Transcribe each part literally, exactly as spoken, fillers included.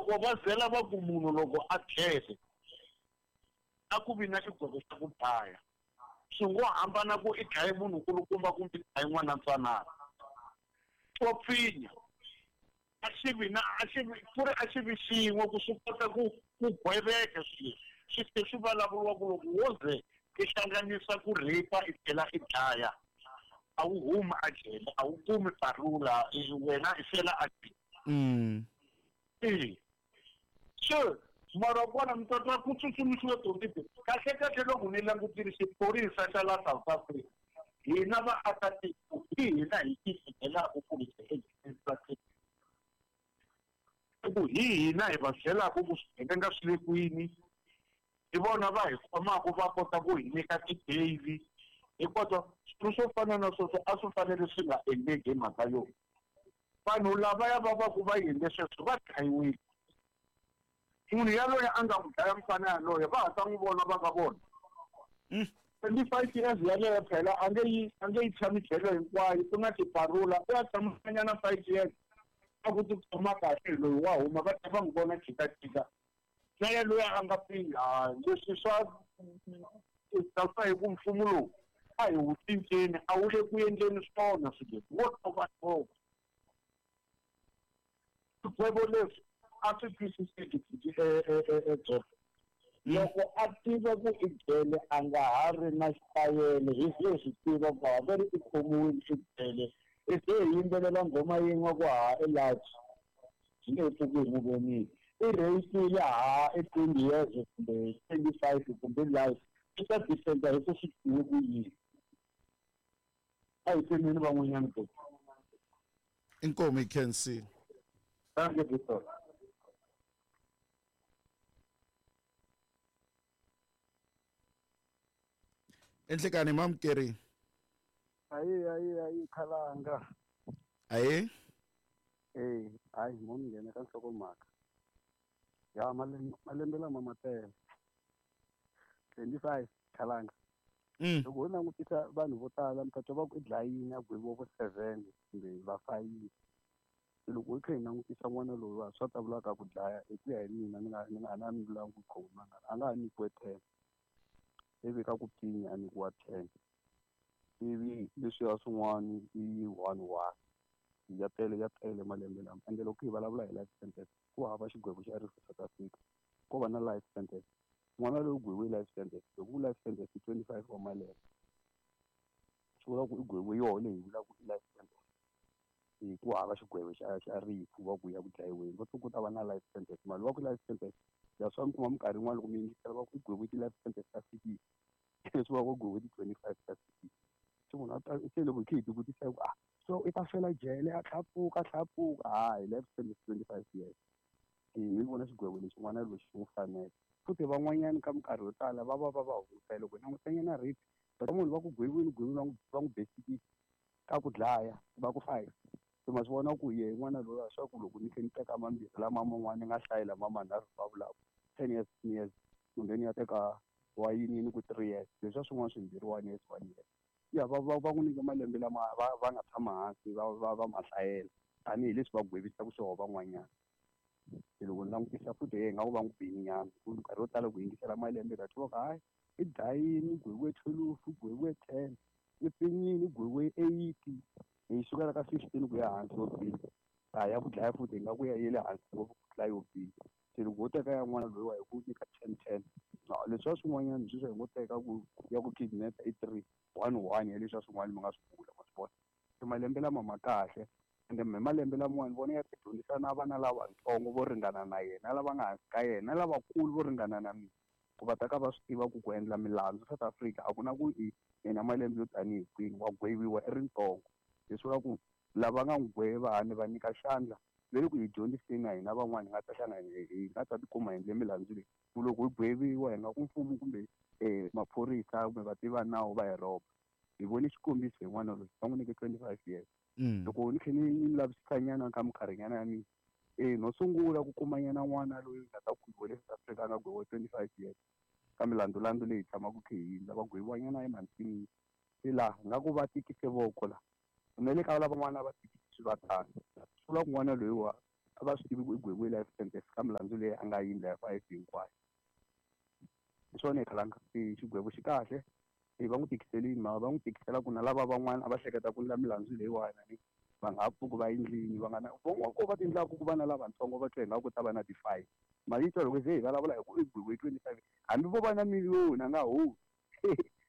Loko va zela va ku munhu loko a tlhele a ku vi na xigwevo xa ku dlaya. Swi ngo hambana ku i dlaye munhu nkulukumba kumbe i dlaye n'wana ntsanana. Swo pfinya a xi vi na a xi vi ku ri a xi vi xin'we ku swi kota ku ku gweveka swilo swi tlhe swi vulavuriwa ku loko wo ze i hlanganisa ku rape i tlhela i dlaya a wu humi a jele, a wu kumi parula, wena i fela a jele. Mm. E. So mara kona mi ta twa ku tsutsumisiwe twenty. Kahle kahle loko ni langutile xiphorisa xa la South Africa, hina vaakatiko hi hina hi tifikelaka ku hi ku hi hina hi va byelaka ku swigevenga swi le kwini, hi vona va hi khomaka va kota ku hi nyika ti-bail. Hi kota swilo swo fana na sweswo a swi fanele swi nga endleki hi mhaka yo vanhu lavaya va va ku va endle sweswo va dlayiwile. Munhu yaloye a nga n'wi dlaya mfana yaloye va ha ta n'wi vona va ka vona. Twenty-five years yaleyo phela a nge yi a nge yi tshami jele hinkwayo, ku na tiparula u ya tshamanyana five years a ku tikhoma kahle loyi wa huma va ta va n'wi vona jikajika. Na yaloye a nga pfinya leswi swa swa hi ku mfumo lowu a hi wu cinceni a wu le ku endleni swona swilo leswi wo tova tova. Swigwevo leswi a swi twisiseki edzoka. Loko a tiva ku i jele a nga ha ri na xitayele, hi ze swi tiva ku ha ve ri i khomiwile i jele, i ze hi yimbelela nghoma yin'we ku ha i large swi nge he pfuki hi n'wi vonile. I rheyisile ha i twenty years kumbe twenty-five kumbe life, i ta defenda hi ku swi tiwe ku yini. A hi tsemeni van'wanyana ku. Inkomu hi khensile. Thank you, Victor. Enhlekani mamukeri. Ayi ayi ayi khalanga. Ayi? Eh, hayi mo ni nghena ka nhlokomhaka. Ya malembe malembe lama ma tele. twenty-five khalanga. Mm. Loko ho langutisa vanhu vo tala mi ta twa va ku i dlayini a gweviwa vo seven kumbe va five. Loko hi kha hi langutisa n'wana loyi wa swa ta vulaka ku dlaya hi ku ya hi mina ni nga ni nga na ni vulanga ku khoma a nga ha nyikiwe ten. Ivi ka ku pfinya a nyikiwa ten. Ivi leswiya swin'wana i one one. Ya tele ya tele malembe lama. Ende loko hi vulavula hi life sentence ku hava xigwevo xa rifu South Africa. Ko va na life sentence. N'wana loyi u gweviwe life sentence. Loko ku life sentence i twenty-five wa malembe. Swi vula ku i gweviwe yoho leyi hi vulaka i life sentence. Hi ku hava xigwevo xa xa rifu va ku ya ku dlayiweni. Va ku ta va na life sentence. Mali va ku life sentence ya swa mi kuma minkarhi yin'wana loko mi yingisela va ku i gweviwe ti-life sentence ta sixty. Leswi va ku gweviwe ti-twenty-five ta sixty. Se munhu a ta se loko hi kha hi tivutisa ku ah so i ta fela jele a tlhela pfuka a tlhela pfuka hayi life sentence twenty-five years. Hi vona xigwevo lexi n'wana lexi xi n'wi fanele. Futhi van'wanyana ka minkarhi yo tala va va va va hunguta loko hi langutanyana rape va munhu va ku gweviwile gweviwile va n'wi va n'wi besikisa ka ku dlaya va ku five. Se ma swi vona ku ye n'wana loyi a swa ku loko ni kha ni teka mambirhi lama man'wana ni nga hlayi lama manharhu va vulaka ten years ten years kumbe ni ya teka wa yini ni ku three years leswiya swin'wana swimbirhi one years one years. Ya va va va n'wi nyika malembe lama va va nga tshama hansi va va va ma hlayela tanihileswi va gwevisaka swona van'wanyana. Se loko ni langutisa futhi hi nga ku va n'wi bini nyana ku nkarhi wo tala ku yingisela malembe ka twa ku hayi i dlayini i gweviwe twelve i gweviwe ten i pfinyini i gweviwe eight hi sukela ka fifteen ku ya hansi yo pfinya. A ya ku dlaya futhi hi nga ku ya yi le hansi ngopfu ku tlula yo pfinya. Se loko ho teka ya n'wana loyiwa hi ku nyika ten ten leswiya swin'wanyana sweswi hi ngo teka ku ya ku kidnap i three one one ya leswiya swin'wana mi nga swi vula ma swi vona. Se malembe lama ma kahle ende hi malembe lamawani vona ya ti dyondzisa na vana lavatsongo vo ringana na yena lava nga hansi ka yena lavakulu vo ringana na mina ku va ta ka va swi tiva ku ku endla milandzu South Africa a ku na ku i yena malembe yo tanihi kwini wa gweviwa i ri ntsongo. Leswi vula ku lava nga n'wi gweva ni va nyika xandla ve le ku hi dyondziseni na hina van'wana hi nga ta hlangana hi nga ta tikuma hi endle milandzu leyi ku loko hi gweviwa hi nga ku mfumo kumbe maphorisa kumbe vativi va nawu va hi rhoba. Hi vone xikombiso hi n'wana loyi va n'wi nyike twenty-five years. Loko ni kha ni ni lavisisa nyana ka minkarhinyana ya mina eh no sungula ku kuma nyana n'wana loyi nga ta gweviwa le South Africa a nga gweviwa twenty-five years ka milandzulandzu leyi tshamaka kha hi endla va gweviwa nyana emhandzini. Se laha nga ku va tikise voko la na le ka lavan'wana va tikisi va tano. Swi vula ku n'wana loyiwa A va swi tivi ku i gweviwe life sentence ka milandzu leyi a nga yi endla ya five hinkwayo. Hi swona hi khalanga xigwevo xi kahle va n'wi tikiselini mara va n'wi tikisela ku na lava van'wana a va hleketa ku endla milandzu leyiwani ni va nga ha pfuki va endlini va nga na van'wana ko va ti endlaku ku va na lavatsongo va twa ingaku ku ta va na ti-fine mali yi twa loko ze hi vulavula hi ku i gweviwe twenty-five hambi vo va na miliyoni a nga humi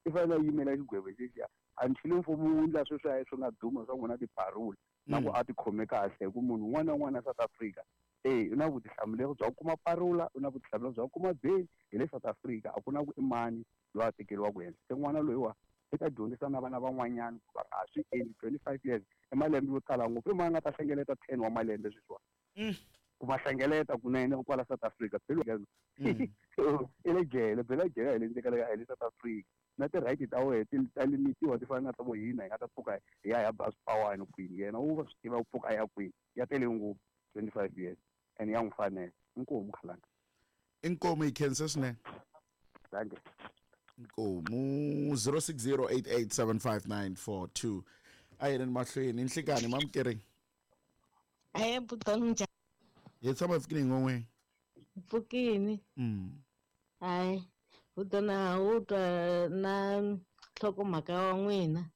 i fanele a yimela xigwevo xexiya until mfumo wu endla sweswiya swi nga duma swa n'wina tiparoli na ku a tikhome kahle hi ku munhu un'wana na un'wana South Africa eh u na vutihlamuleri bya ku kuma parola u na vutihlamuleri bya ku kuma bail hi le South Africa a ku na ku i mani loyi a tekeriwaka henhla se n'wana loyiwa i ta dyondzisa na vana van'wanyana ku va nga swi endli twenty-five years i malembe yo tala ngopfu i mani a nga ta hlengeleta ten wa malembe sweswiwani ku va hlengeleta kunene kwala South Africa phela i le jele phela jele hi le ndzeni ka le hi le South Africa na ti-right ta wena ti ta limitiwa ti fana na ta vo hina hi nga ta pfuka hi ya hi ya ba swipawani kwini yena u va swi tiva ku pfuka a ya kwini ya tele ngopfu twenty-five years and ya n'wi fanela inkomu khalanga inkomu hi khensa swinene thank you inkomu zero six zero eight eight seven five nine four two a yeleni mahlweni nhlikani mamukeri aye butoni njhani hi tshama hi pfukini n'we pfukini mm hayi butoni a wu twa na nhlokomhaka wa n'wina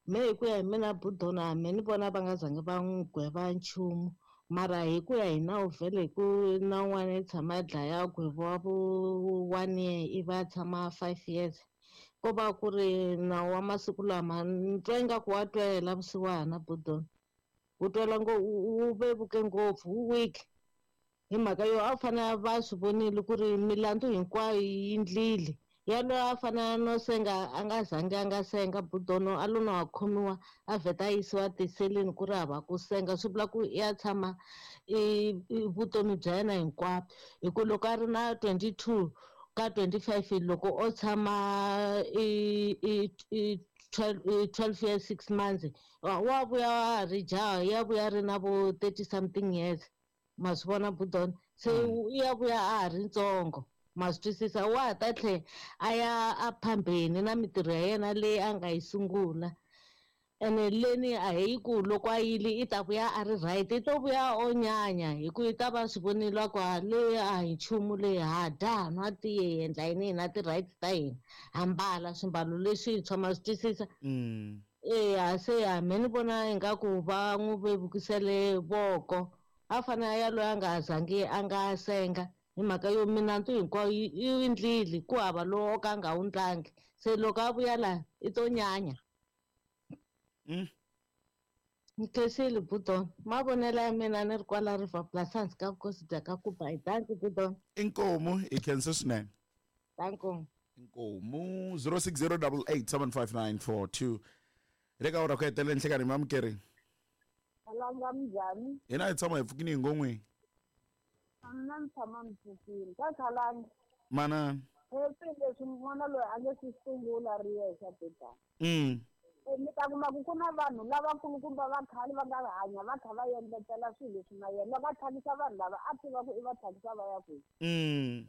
me hi ku ya hi mina butoni a me ni vona va nga zangi va n'wi gweva nchumu mara hi ku ya hi nawu vhele hi ku na un'wana i tshama a dlaya gwevo vo one year ivi a tshama five years ko va ku ri nawu wa masiku lama ni twa ingaku wa twela vusiwana butoni wu twela ngo wu vevuke ngopfu wu weak hi mhaka yo a fanele va swi vonile ku ri milandzu hinkwayo yi endlile yaloye a fanele no senga a nga zangi a nga senga budono a lo na wa khomiwa a vheta a yisiwa tiseleni ku ri hava ku senga swi vula ku ya tshama i vutomi bya yena hinkwabyo hi ku loko a ri na twenty-two ka twenty-five loko o tshama i i i twelve years six months wa vuya a ri jaha ya vuya ri na vo thirty something years ma swi vona budona se ya vuya a ha ri ntsongo ma swi twisisa wa ha ta tlhela a ya a phambeni na mintirho ya yena leyi a nga yi sungula ene leni a hi ku loko a yile i ta vuya a ri right i to vuya o nyanya hi ku i ta va swi vonile ku a leyi a hi nchumu leyi ha dya ha nwa tiye hi endla yini hina ti-rights ta hina ha mbala swimbalo leswintshwa ma swi twisisa eya se ya me ni vona ingaku va n'wi vevukisele voko a fanele ya loyi a nga zangi a nga senga hi mhaka yo milandzu hinkwayo yi endlile ku hava lowu o ka a nga wu ndlangi se loko a vuya laha i to nyanya ni khensile budon mavonelo ya mina ni ri kwala River Plus hansi ka vukosi bya ka Kuba hi danki budon inkomu hi khensa swinene danko inkomu zero six zero double eight seven five nine four two le ka ora ku hetelela nhlekani mamukeri Alanga minjhani hina hi tshama hi pfukini hi ngon'weni mina ni tshama ni pfukile ka khalanga mana leswi leswi n'wana loyi a nge swi sungula ri yexe bebana mm mi ta kuma ku ku na vanhu lavakulukumba va khale va nga hanya va kha va endletela swilo leswi na yena loko a tlhakisa vanhu lava a tiva ku i va tlhakisa va ya kwihi mm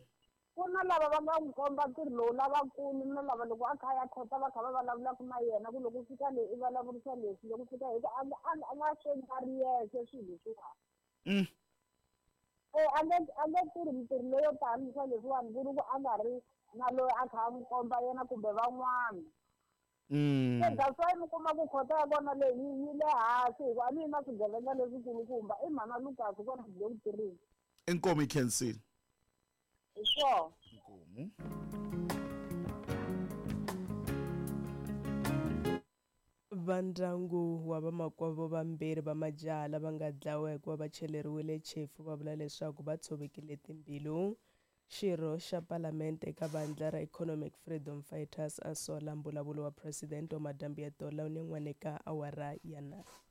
ku na lava va nga n'wi komba ntirho lowu lavakulu na lava loko a kha ya khota va kha va vulavulaka na yena ku loko fika leyi i vulavurisa leswi loko fika hi ku a nga a nga swi endla ri yexe swilo leswiwani mm e a nge a nge tirhi mintirho leyo tani swa leswiwani ku ri ku a nga ri na loyi a kha a n'wi komba yena kumbe van'wana Mm. Se that's why mi kuma ku khota ya kona leyi yi le hansi hikuva a ni yi na swigevenga leswikulukumba i mhana Lucas kona byi le ku tirheni inkomu yi khensile hi swona inkomu Vandyangu wa vamakwavo vambirhi va majaha lava nga dlawa hikuva va cheleriwile chefu va vula leswaku va tshovekile timbilu. Xirho xa Palamende eka vandla ra Economic Freedom Fighters a sola mbulavulo wa Presidente wa Madambi ya Tola ni n'wana eka awara ya nharhu.